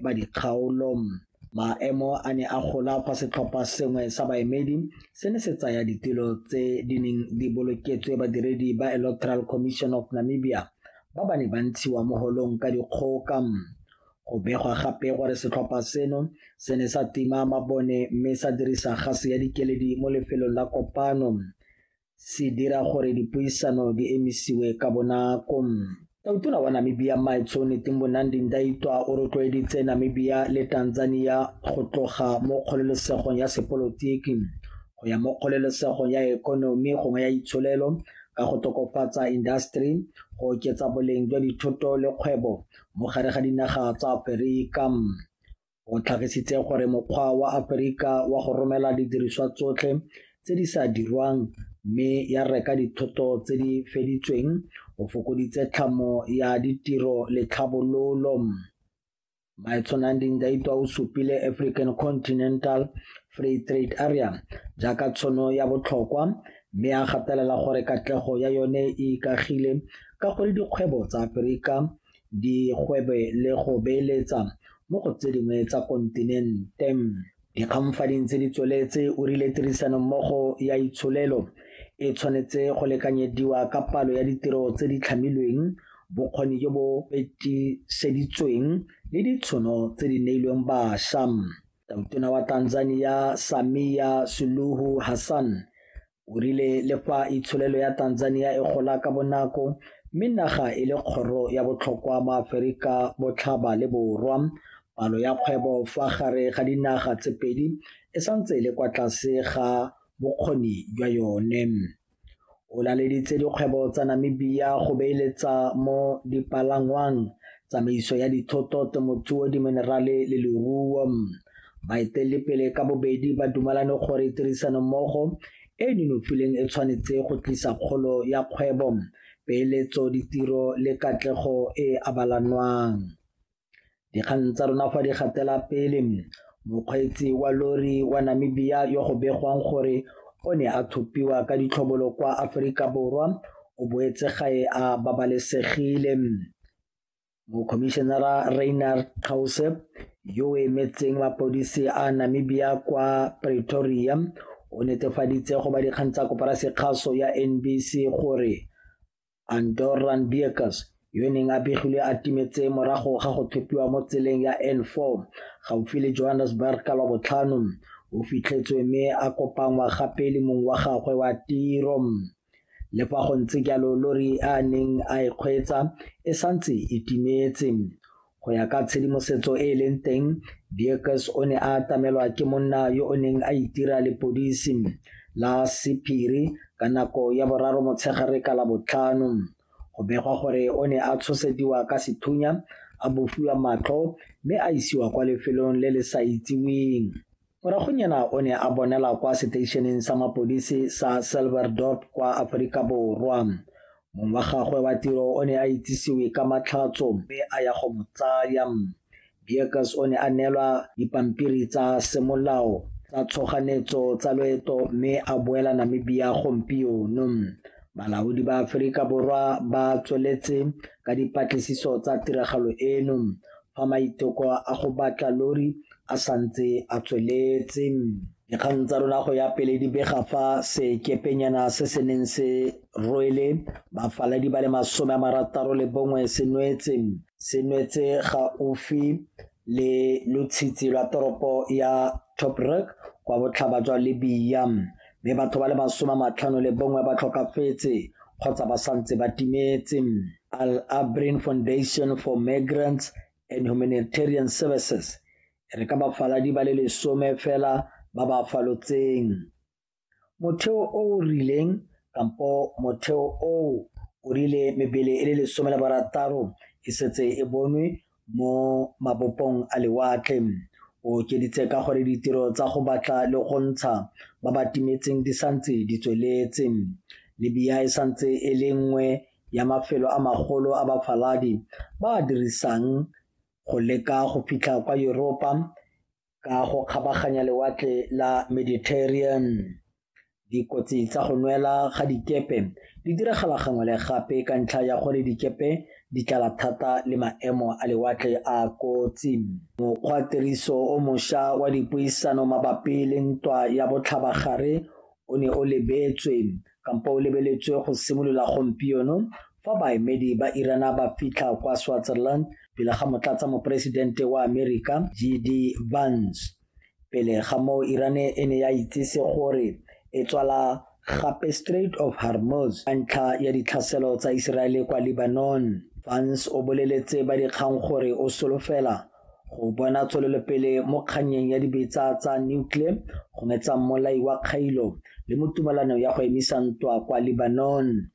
ba dikgaolo. Maemo a ne a gola fa setlhopha sengwe sa baemedi se ne se tsaya ditilo tse di neng di boloketswe badiredi ba Electoral Commission of Namibia ba ba neng ba ntshiwa mo holong ka dikgoka. Go begwa gape gore setlhopha seno se ne sa tima mabone mme sa dirisa gase ya dikeledi mo lefelong la kopano, se dira gore dipuisano di emisiwe ka bonako. Tautona wa Namibia Mmaetsho Netumbo Nandi-Ndaitwah o rotloeditse Namibia le Tanzania go tloga mo kgololesegong ya sepolotiki go ya mo kgololesegong ya ikonomi gongwe ya itsholelo ka go tokafatsa indaseteri, go oketsa boleng jwa dithoto le kgwebo mo gare ga dinaga tsa Aforika. O tlhagisitse gore mokgwa wa Aforika wa go romela didiriswa tsotlhe tse di sa dirwang mme ya reka dithoto tse di feditsweng o fokoditse tlhamo ya ditiro le tlhabololo. Mmaetsho Nandi-Ndaitwah o supile African Continental Free Trade Area jaaka tšhono ya botlhokwa mme a gatelela gore katlego ya yone e ikaegile ka gore dikgwebo tsa Aforika di gwebe le go beeletsa mo go tse dingwe tsa kontinente. Dikgang fa di ntse di tsweletse o rile tirisanommogo ya itsholelo e tshwanetse go lekanyediwa ka palo ya ditiro tse di tlhamilweng, bokgoni jo bo fetiseditsweng le ditšhono tse di neilweng bašwa. Tautona wa Tanzania Samia Suluhu Hassan o rile le fa itsholelo ya Tanzania e gola ka bonako mme naga e le kgoro ya botlhokwa mo Aforika Botlhaba le Borwa, palo ya kgwebo fa gare ga dinaga tse pedi e santse e le kwa tlase ga bokgoni jwa yone. O laleditse dikgwebo tsa Namibia go beeletsa mo dipalangwang, tsamaiso ya dithoto, temothuo, diminerale le leruo. Baeteledipele ka bobedi ba dumalane gore tirisanommogo e e nonofileng e tshwanetse go tlisa kgolo ya kgwebo, peeletso, ditiro le katlego e e abalanwang. Dikgang tsa rona fa di gatela pele, mokgweetsi wa lori wa Namibia yo go begwang gore o ne a thopiwa ka ditlhobolo kwa Aforika Borwa o boetse gae a babalesegile. Mokhomišenara Reinhard Kause yo o emetseng mapodisi a Namibia kwa Pretoria o netefaditse go ba dikgang tsa koporasi kgaso ya NBC gore Andorran Beukes yo neng a begilwe a timetse morago ga go thopiwa mo tseleng ya N4 gaufi le Johannesburg ka Lwabotlhano o fitlhetswe mme a kopanngwa gape le mong wa gagwe wa tiro. Le fa go ntse jalo lori a neng a e kgweetsa e santse e timetse. Go ya ka tshedimosetso e e leng teng, Beukes o ne a atamelwa ke monna yo o neng a itira lepodisi la sephiri ka nako ya boraro motshegare ka Labotlhano. Go begwa gore o ne a tshosediwa ka sethunya, a bofiwa matlho mme a isiwa kwa lefelong le le sa itsiweng. Moragonyana o ne a bonela kwa seteišeneng sa mapodisi sa Silverdorp kwa Aforika Borwa. Mong wa gagwe wa tiro o ne a itsisiwe ka matlhatso mme a ya go mo tsaya. Beukes o ne a neelwa dipampiri tsa semolao tsa tshoganetso tsa loeto mme a boela Namibia gompieno. Balaodi ba Aforika Borwa ba tsweletse ka dipatlisiso tsa tiragalo eno fa maiteko a go batla lori a santse a tsweletse. Dikgang tsa rona go ya pele di bega fa sekepenyana se se neng se rwele bafaladi ba le 61 se nwetse. Se nwetse gaufi le lotshitshi lwa toropo ya Tobruk kwa botlhaba jwa Libya mme batho ba le 51 ba tlhokafetse kgotsa ba santse ba timetse. Al Abrin Foundation for Migrants and Humanitarian Services e re ka bafaladi ba le 10 fela ba ba falotseng. Motheo o o rileng kampo motheo oo o rile mebele e le 16 e setse e bonwe mo mabopong a lewatle. O okeditse ka gore ditiro tsa go batla le go ntsha ba ba timetseng di santse di tsweletse. Libya e santse e le nngwe ya mafelo a magolo a bafaladi ba a dirisang go leka go fitlha kwa Yuropa ka go kgabaganya lewatle la Mediterranean. Dikotsi tsa go nwela ga dikepe di diragala gangwe le gape ka ntlha ya gore dikepe di tlala thata le maemo a lewatle a kotsi. Mokgwatiriso o mošwa wa dipuisano mabapi le ntwa ya botlhabagare o ne o lebetswe kampo o lebeletswe go simolola gompieno fa baemedi ba Irana ba fitlha kwa Switzerland pele ga motlatsa moporesidente wa Amerika JD Vance. Pele ga moo Irane e ne ya itsise gore e tswala gape Strait of Hormuz ka ntlha ya ditlhaselo tsa Iseraele kwa Lebanon. Vance o boleletse ba dikgang gore o solofela go bona tswelelopele mo kgannyeng ya dibetsa tsa nuclear gongwe tsa mmolai wa kgailo le mo tumalanong ya go emisa ntwa kwa Lebanon.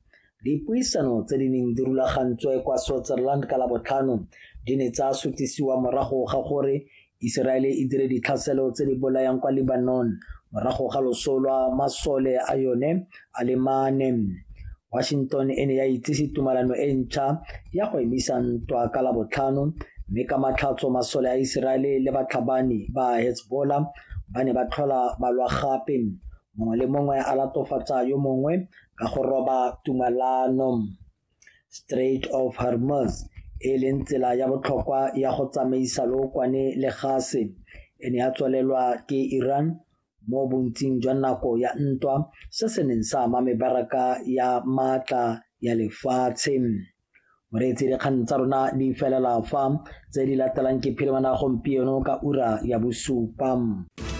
Dipuisano tse di neng di rulagantswe kwa Switzerland ka Labotlhano di ne tsa sutisiwa morago ga gore Iseraele e dire ditlhaselo tse di bolayang kwa Lebanon morago ga loso lwa masole a yone a le mane. Washington e ne ya itsise tumalano e ntšha ya go emisa ntwa ka Labotlhano, mme ka matlhatso masole a Iseraele le batlhabani ba Hezbollah ba ne ba tlhola ba lwa gape, mongwe le mongwe a latofatsa yo mongwe ka go roba tumalano. Strait of Hormuz e leng tsela ya botlhokwa ya go tsamaisa lookwane le gase e ne ya tswalelwa ke Iran mo bontsing jwa nako ya ntwa, se se neng sa ama mebaraka ya maatla ya lefatshe. Moreetsi, dikgang tsa rona di felela fa, tse di latelang ke phirimana gompieno ka ura ya 7.